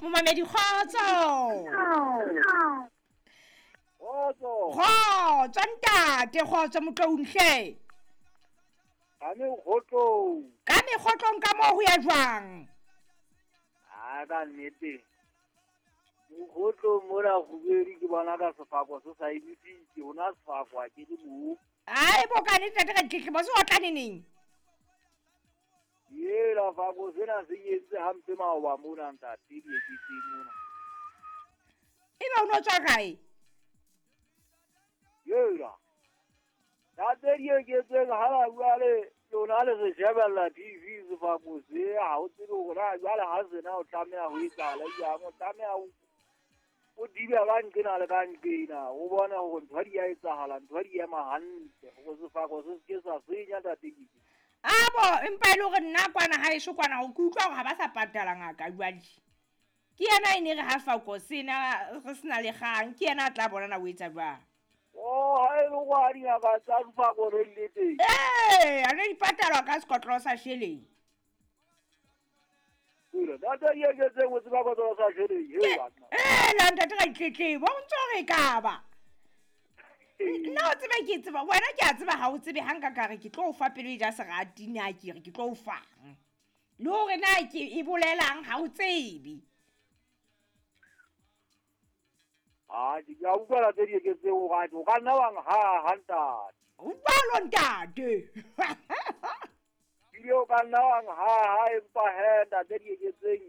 Momamedi, kgotso. Kgotso. Kgotso ntate, kgotso motloung hle. Ka mekgotlong. Ka mekgotlong ka moo ho ya jwang? A ka nnete. Mokgotlong mona kgubedi ke bona ka sefako se sa emisitse, hona sefako ha ke le moo. Ai bo ka nnete ntate Raditlebo, se otla neneng? Yela fako sena se nyetse hampe maoba mona ntate dieketseng mona. Ebe o no tswa kae? Yela. Ntate dieketseng ha ba jwale lona le re shebella TV sefako se ha o tsebe hore na jwale ha sena o tlameha ho etsahala jwang, o tlameha o dibe ka nqena le ka nqena, o bone hore ntho di a etsahala, ntho di ema hantle hore sefako se se ke sa senya ntate Kiki. Abo empa e le hore nna kwana haeso kwana ho ke utlwa hore ha ba sa patala ngaka jwale. Ke yena e ne re ha fako sena re sena le kgang, ke yena a tla bona na o etsa jwang. Oh, ha e le hore ha dingaka tsa sefako re le teng. Ee, a ne di patalwa ka sekotlolo sa sheleng. Ntate Dieketseng o tseba kotlolo sa sheleng, he banna. Ee, la ntate Raditlebo, o ntso re ka ba. Nna o tsebe ke tseba, wena ke a tseba ha o tsebe ha nka ka re ke tlo o fa pelo e ja serati na ke re ke tlo o fang. Le hore na ke e bolelang ha o tsebe. Ah, ke a utlwa ntate Dieketseng hore o ka nna wa nhaha ntate. Utlwalo ntate. Ebile o ka nna wa nhaha empa he ntate Dieketseng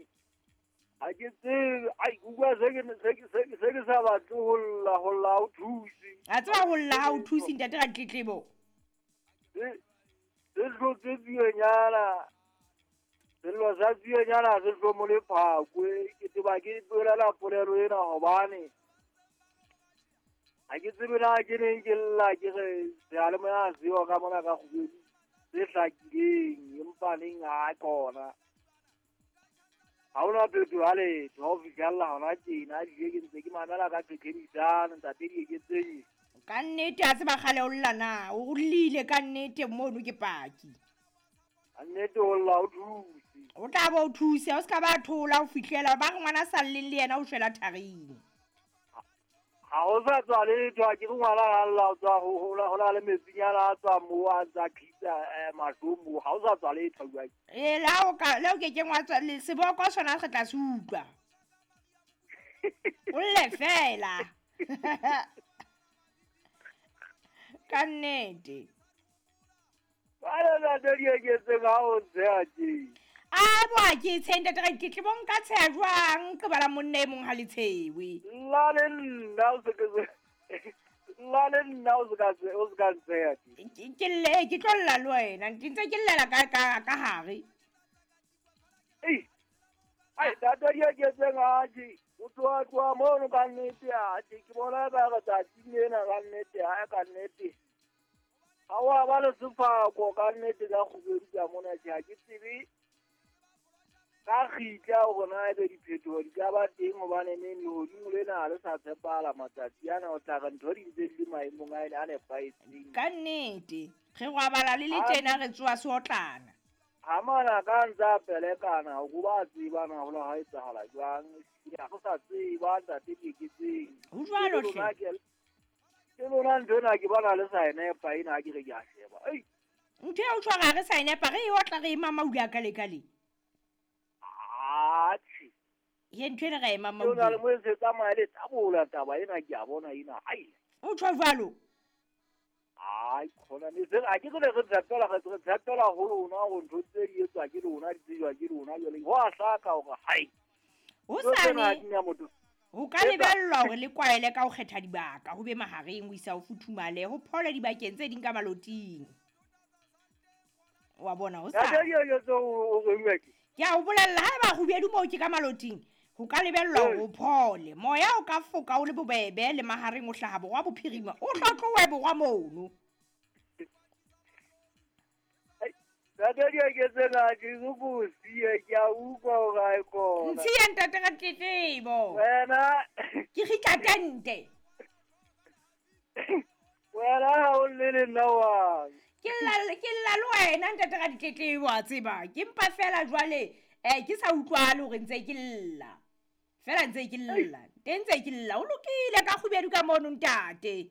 ha ke tsebe, ai ke utlwa se ke sa batle ho lla, ho lla ha o thuse. A tseba ho lla ha o thuse ntate Raditlebo. Se hlotse tsuenyana. Sello sa tsuenyana se hlomole phakwe. Ke tseba ke bolela polelo ena hobane ha ke tsebe na ke neng ke lla ke re seyalemoya ha seyo ka mona ka kgubedi se hlakileng empa neng ha kona. Ha hona phetoho ya letho ha o fihlella hona tjena, ebile ke ntse ke mamela ka qeqebisano ntate Dieketseng. Ka nnete ha tseba kgale o lla na, o llile ka nnete mono ke paki. Ka nnete ho lla o thuse. O tla bo o thuse, o ska ba thola ho fihlela ba re ngwana sa lleng le yena o shwela tharing. Ha o sa tswa letho, ha ke re ngwana ha lla o tswa ho na le metsinyana a tswa moo a ntsa khitsa mahlo moo, ha o sa tswa letho jwale. Ee, le ha o ka, le o ke keng wa tswa, le seboko sona re tla se utlwa. O lle fela. Ka nnete. Jwale ntate Dieketseng ha o ntsheha tje. A bo ha ke tshehe ntate Raditlebo, nka tsheha jwang ke bala monna e mong ha le tshewe. Lla le nna o se ke lla le nna o se ka o se ka ntsheha tje. Ke lle, ke tlo lla le wena, ke ntse ke llela ka hare. Ei. Ai ntate Dieketseng ha tje, o tloha tloha mono ka nnete ha tje, ke bona ka re tsatsing lena ka nnete ha ka nnete. Ha wa ba le sefako ka nnete ka kgubedi ka mona tje, ha ke tsebe ka kgitla hore na ebe diphetoho di ka ba teng hobane neng lehodimo lena ha le sa tshepahala matsatsi ana, o tla re ntho di ntse di le maemong a nepahetseng. Ka nnete, re robala le le tjena re tsoha seotlana. Ha manaka a ntse a pelekana, ho ba tseba na ho la ha etsahala jwang, ha go sa tseba ntate Dieketseng. Ho jwalo hle. Ke lona ntho ena ke bona le sa e nepa ena ha ke re ke a sheba. Ei. Ntho eo tshwara re sa e nepa, re e otla re e mamaula ka le ka le. Atjhe. Ye ntho ena re e mamaula. Lona le mo se tsamaya le tabola taba ena ke a bona ena. Ai. O tjho jwalo? Ai, khona ne se a ke re re tshepela re tshepela ho lona hore ntho tse di etswa ke lona di tsejwa ke lona jwale ho a hlaka hore hai. Ho sane ho ka lebellwa hore le kwaele ka ho kgetha dibaka ho be mahareng ho isa ho futhumale ho phole dibakeng tse ding ka maloting. Wa bona ho sa. Ke a o bolella ha eba kgubedu moo ke ka maloting ho ka lebellwa hore o phole. Moya o ka foka o le bobebe le mahareng o hlaha borwa bophirima o hlotlowe borwa mono. Ntate Dieketseng ha ke so ko siye, ke a utlwa hore ha e kona. Ntshiye ntate Raditlebo. Wena. Ke kgitla tente. Wena ha o lle le nna wang. Ke lla le wena ntate Raditlebo a tseba. Ke mpa fela jwale ke sa utlwahale hore ntse ke lla. Fela ntse ke lla, teng ntse ke lla. O lokile ka kgubedu ka mono ntate.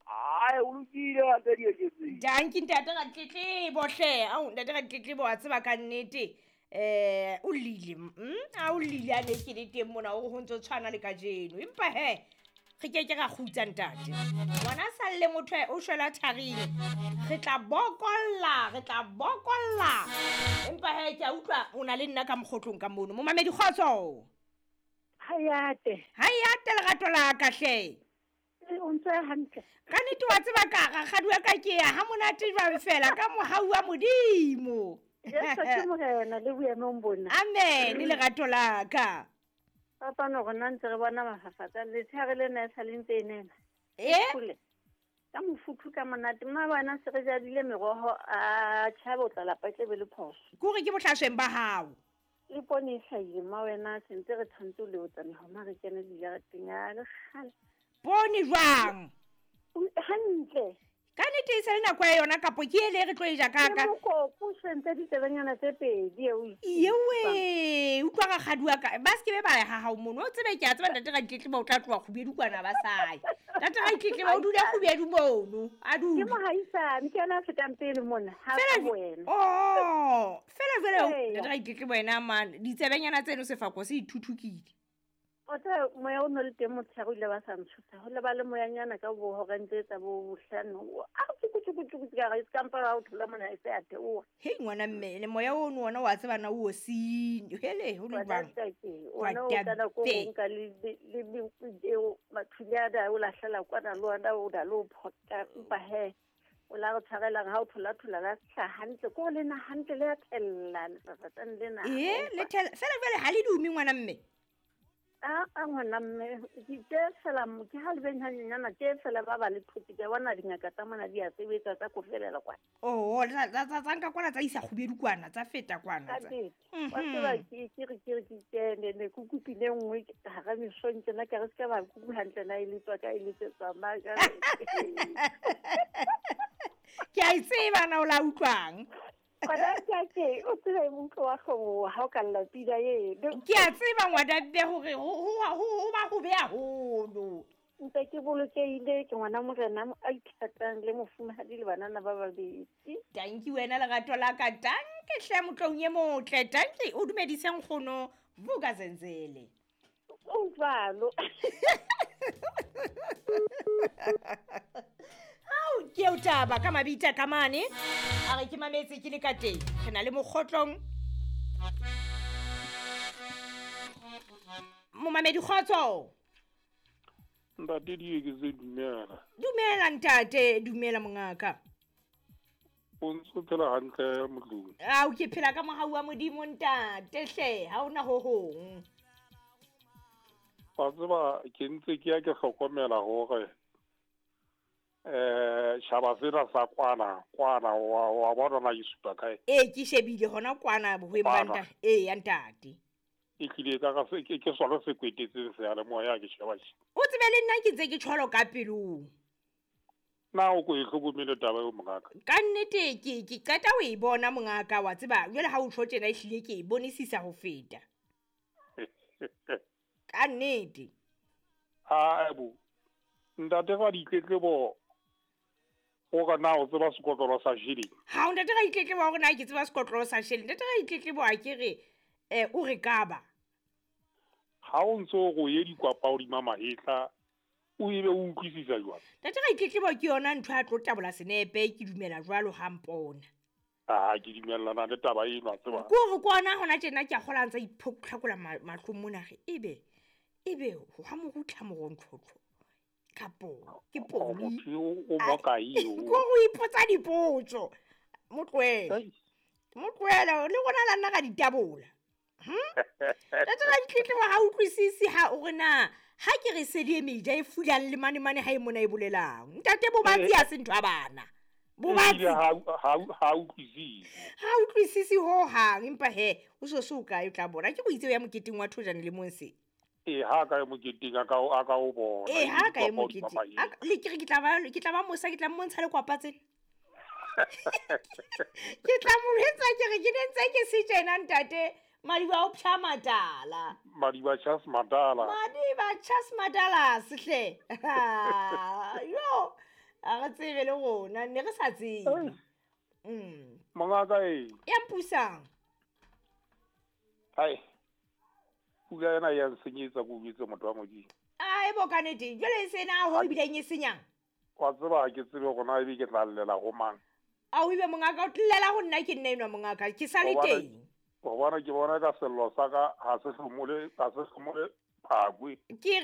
Ai, o lokile ntate Dieketseng. Danki ntate Ratletlebo hle. Ao ntate Ratletlebo wa tseba ka nnete. O llile, a o llile a ne ke le teng mona o ho ntso tshwana le kajeno. Empa he, re ke ke ra kgutsa ntate. Ngwana a salle motho o shwela tharing. Re tla bokolla, re tla bokolla. Empa he ke a utlwa o na le nna ka mokgotlong ka mono. Momamedi kgotso. Hayate. Hayate lerato la ka hle. O ntse hantle. Ka nnete wa tseba ka rakgadi wa ka ke ya ha monate jwang fela ka mohau wa Modimo. Jesu ke morena le boemong bona. Amen lerato la ka. Papa no rona ntse re bona mafafatsa letshehare lena e sa le ntse e nena. E? Ka mofuthu ka monate mma bana se re jadile meroho a tjhabe o tla lapa tle be le phoso. Ke hore ke bohlasweng ba hao. Le poone e hlahile mma wena sentse re tshwantse ho leotsa mehoma re kene dijareteng ya le kgale. Poone jwang? Hantle. Ka nnete e se le nako ya yona kapo ke ele re tlo e ja ka ka. Ke mokoko sentse ditsebenyana tse pedi eo. Ewe, utlwa rakgadi wa ka. Ba se ke be ba ya ha hao mono. O tsebe ke a tseba ntate Ratletlebo o tla tloha kgubedu kwana ba saye. Ntate Ratletlebo o dula kgubedu mono. A dule. Ke mohaisane, ke yena a fetang pele mona. Ha Fela ka wena. Oh, fela jwale Eya. ntate Ratletlebo wena man, ditsebenyana tseno sefako se ithuthukile. O tseba moya o no le teng motshehare o ile ba sa ntshosa. Ho le ba le moyanyana ka bo horeng tse tsa bo bohlano. A tsuku tsuku tsuku ka re se ka mpa ha o thola mona e se a theoha. Hei ngwana mme, le moya ono ona wa tseba na o seng. Hele ho le Ngwana jwang? ntate, ona o Ngwana kana ko mme. nka le le le eo mathule a da o lahlela kwana le ona o da le o phota mpa he. O la re tshwarelang ha o thola thola la hlaha hantle ko le na hantle le a thella lefafatsane lena. Eh, le thella. Fela jwale ha le dume ngwana mme. A ngwana mme, ke tse fela mo, ke ha le beng hanyenyana, tse fela ba ba le thote, ke a bona dingaka tsa mona di a sebetsa tsa ko felela kwana. Oh, tsa nka kwana tsa isa kgubedu kwana, tsa feta kwana, Ka tsa. nnete. Wa tseba ke re, ke re, ke kene, ne ke kopile nngwe hara mesong tjena, ka re se ka ba kuku hantle na e letswa ka e letsetswa mang, ka re. Ke a e tseba na o la utlwang. Ngwana ntate, o tsebe motho wa hloboha ha o ka lla pina eno. Ke a tseba ngwana mme hore ho ba ho be haholo. Ntse ke bolokehile, ke ngwana morena a ithatang le mofumahadi le banana ba babedi. Tanki wena lerato la ka, tanki hle motlong e motle, tanki o dumedise nkgono Vuka Zenzele. O jwalo. Hao, ke eo taba ka mabitla ka mane. A re ke mametse ke le ka teng. Re na le mokgotlong. Momamedi kgotso. Ntate Dieketse, dumela. Dumela ntate, dumela mongaka. O ntso phela hantle motlong? Ao, ke phela ka mohau wa Modimo ntate hle, ha hona ho hong. Wa tseba ke ntse ke ya ke hlokomela hore tjhaba sena sa kwana, kwana, wa bona na ke supa kae? Ee, ke shebile hona kwana bohweng ba Kwana. ntate. Ee, ya ntate. E tlile ka ka se, ke sona se kwetetseng seyalemoya ke sheba tje. O tsebe le nna ke ntse ke tjholo ka pelong. Na o ko e hlokomele taba eo mongaka? Ka nnete ke qeta ho e bona mongaka, wa tseba, jwale ha o tjho tjena ehlile ke e bonisisa ho feta. Ka nnete. Ha bo. Ntate wa ditletlebo o ka na o tseba sekotlolo sa sheleng? Ha o ntate Raditletlebo wa hore na ke tseba sekotlolo sa sheleng. Ntate Raditletlebo a ke re, o re ka ba. Ha o ntso o re o ye dikwapa hodima mahetla, o ebe o utlwisisa jwang? Ntate Raditletlebo ke yona ntho ya tlo tabola senepe, ke dumela jwalo ha mpona. Ah, ke dumellana le taba eno, a tseba. Ke hore ke ona hona tjena ke a kgola a ntsa iphotlhakola mahlong mona re, ebe ha mo rutla morontlhotlho. Kapo, ke Oh, poli. motho eo o mo kae eo? Ke hore o ipotsa dipotso. Mo tlohele. Ai. Mo tlohele, le rona la nna ra di tabola. Ntate Raditletlebo ha utlwisise ha o re na, ha ke re sedi e meja e fulang le mane mane ha e mona e bolelang. Ntate Bobatsi ha se ntho ya bana. Bobatsi. Ebile ha utlwisise. Ha utlwisise ho hang, empa he, o so so kae o tla bona. Ke go itse o ya moketeng wa Thojane le Monse. Ee, ha ka ya moketeng, a ka o bona. Ee, ha ka ya Ke utlwa moketeng. papa A ka, le ke re ke tla ba mosa, ke tla mmontsha le kwapa tsena. Ke tla mo jwetsa ke re ke ne ntse ke se tjena ntate. Madiba o psha matala. Madiba Charles Matala. Madiba Charles Matala sehle. Yo, a re tsebe le rona, ne re sa tsebe. Mongaka e. Ya mpusang. Hai. Pula ena ya nsenyetsa ko jwetse motho wa Modimo. Ai bo ka nnete, jwale e sena ho ebileng e senyang. Wa tseba ha ke tsebe hore na ebe ke tla llela ho mang. A o ebe mongaka o tlela ho nna ke nna enwa mongaka, ke sa le teng. Gobane ke bona ka sello sa ka ga se hlomole, ga se hlomole phakwe. Ke